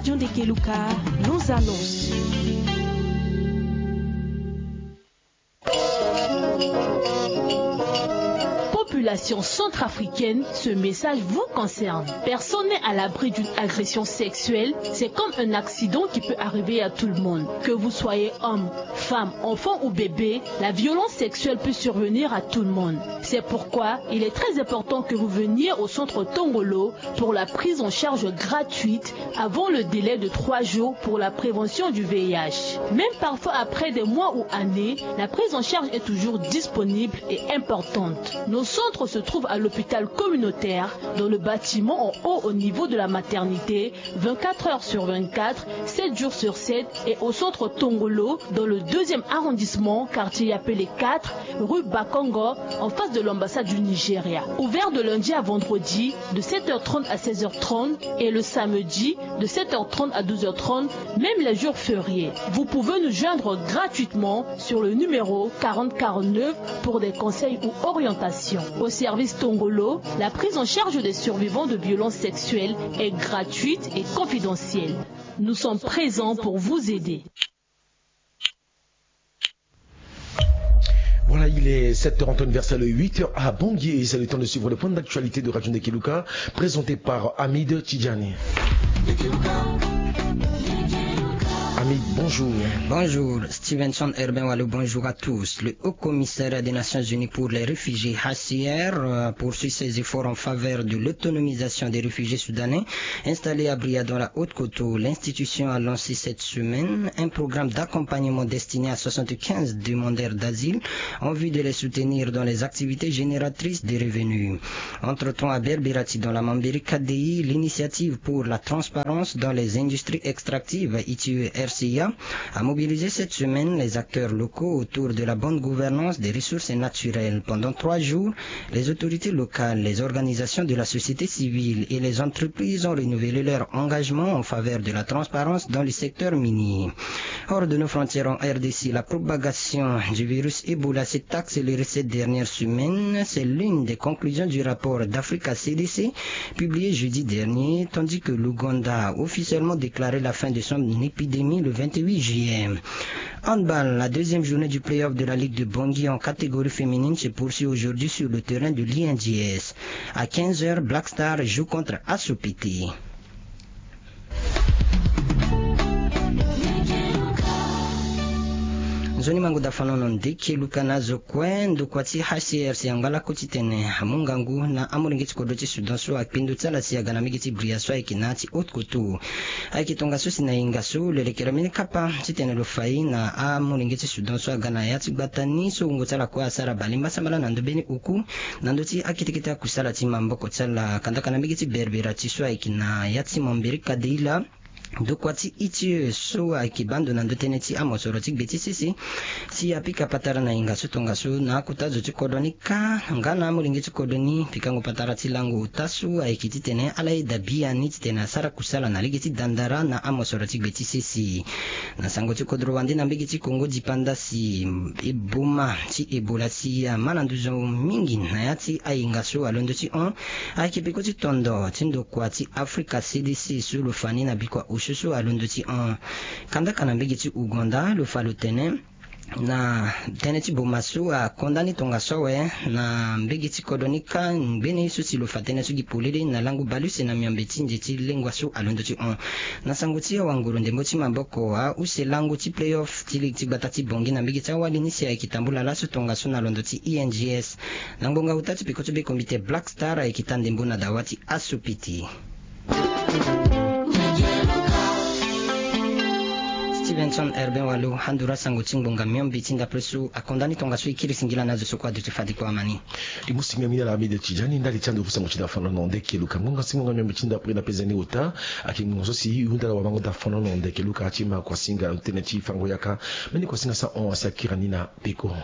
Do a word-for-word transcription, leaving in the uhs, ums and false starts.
John de Keluka nous annonce. Population centrafricaine, ce message vous concerne. Personne n'est à l'abri d'une agression sexuelle. C'est comme un accident qui peut arriver à tout le monde. Que vous soyez homme, femme, enfant ou bébé, la violence sexuelle peut survenir à tout le monde. C'est pourquoi il est très important que vous veniez au centre Tongolo pour la prise en charge gratuite avant le délai de trois jours pour la prévention du V I H. Même parfois après des mois ou années, la prise en charge est toujours disponible et importante. Nos centres se trouvent à l'hôpital communautaire, dans le bâtiment en haut au niveau de la maternité, vingt-quatre heures sur vingt-quatre, sept jours sur sept, et au centre Tongolo, dans le deuxième arrondissement, quartier Yapele quatre, rue Bakongo, en face de l'ambassade du Nigeria. Ouvert de lundi à vendredi, de sept heures trente à seize heures trente, et le samedi, de sept heures trente à douze heures trente, même les jours fériés. Vous pouvez nous joindre gratuitement sur le numéro quarante quarante-neuf pour des conseils ou orientations. Au service Tongolo, la prise en charge des survivants de violences sexuelles est gratuite et confidentielle. Nous sommes présents pour vous aider. Voilà, il est sept heures en temps universel, huit heures à Bangui, et c'est le temps de suivre le point d'actualité de Radio Ndekeluka, présenté par Hamid Tidjani. Hamid, bonjour. Bonjour, Stevenson Urbain Wallou, bonjour à tous. Le Haut Commissariat des Nations Unies pour les réfugiés, H C R, euh, poursuit ses efforts en faveur de l'autonomisation des réfugiés soudanais installés à Bria dans la Haute-Kotto. L'institution a lancé cette semaine un programme d'accompagnement destiné à soixante-quinze demandeurs d'asile en vue de les soutenir dans les activités génératrices de revenus. Entre-temps, à Berberati, dans la Mambéri K D I, l'initiative pour la transparence dans les industries extractives, I T I E R C I A, a mobilisé cette semaine les acteurs locaux autour de la bonne gouvernance des ressources naturelles. Pendant trois jours, les autorités locales, les organisations de la société civile et les entreprises ont renouvelé leur engagement en faveur de la transparence dans le secteur minier. Hors de nos frontières, en R D C, la propagation du virus Ebola s'est accélérée ces dernières semaines. C'est l'une des conclusions du rapport d'Africa C D C publié jeudi dernier, tandis que l'Ouganda a officiellement déclaré la fin de son épidémie le vingt-huit juillet. Handball, la deuxième journée du play-off de la Ligue de Bangui en catégorie féminine se poursuit aujourd'hui sur le terrain de l'I N G S. À quinze heures, Black Star joue contre Asopiti. Nzoni mangu da fanono ndeke luka na zo kue ndokua ti H C R C angba lakue titene amu ngangu na amolenge ti kodro ti Soudan so akpindu ti ala si aga na mbege ti Bria so ayeke na ya ti Haute-Kotto. Ayeke tongaso si na hinga so lo lekere mbeni kapa titene lo fa ye na amolenge ti Soudan so aga na ya ti gbata ni so wungo ti ala kue asara balemba sambala na ndö mbeni oku na ndö ti akete kete akusala ti maboko ti ala kandaka na mbege ti Berberati so ayeke na ya ti Mambéri Kadeila. Ndokua ti I T I E so ayeke baa ndo na ndö tënë ti amosoro ti gbe ti sese si apika patara na hinga so tongaso na akota zo ti kodro ni kâ nga na amolenge ti kodro ni pikango patara ti lango ota so ayeke titene ala yeda biani titene asara kusala na lege ti dandara na amosoro ti gbe ti sese. Na sango ti kodro wande na mbege ti Kongo dipanda si eboma ti Ebola si ama na nduzu mingi na ya ti ahinga so alondo ti hon. Ayeke peko ti tondo ti ndokua ti Afrika C D C so lo fa ni na bikua osio so alondo ti hon. Kandaka na mbege ti Ouganda lo fa lo tene na tënë ti boma so akonda ni tongaso awe na mbege ti kodro ni kâ ngbene ye so si lo fa tënë so gi polele na lango baleuse na miombe ti nze ti lengua so alondo ti hon. Na sango ti awanguru ndembo ti maboko ahuse lango ti play-off ti ligue ti gbata ti Bangui na mbege ti awali ni si ayeke tambula laso tongaso na londo ti I N G S. Na ngbonga ota ti peko ti be kombite Black Star ayeke taa ndembo na dawa ti Asopiti. Stevenson Herbin Walo, handura sango ti ngbonga miombe ti ndapre so akonda ni tongaso e kiri singila na azo so kue aduti fade kue amani. E mu singila mingi na ala amide ti jani ndali ti ando ku sango ti dafanono nde keluka ngbonga si ngbonga miombe ti ndapre na pezeni ota. Ayeke ngbonga so si e hunda na wamango dafanono nde keluka ti ma kuasinga tënë ti fango yaka. Mbeni kuasinga sahon asi akiri ni na peko.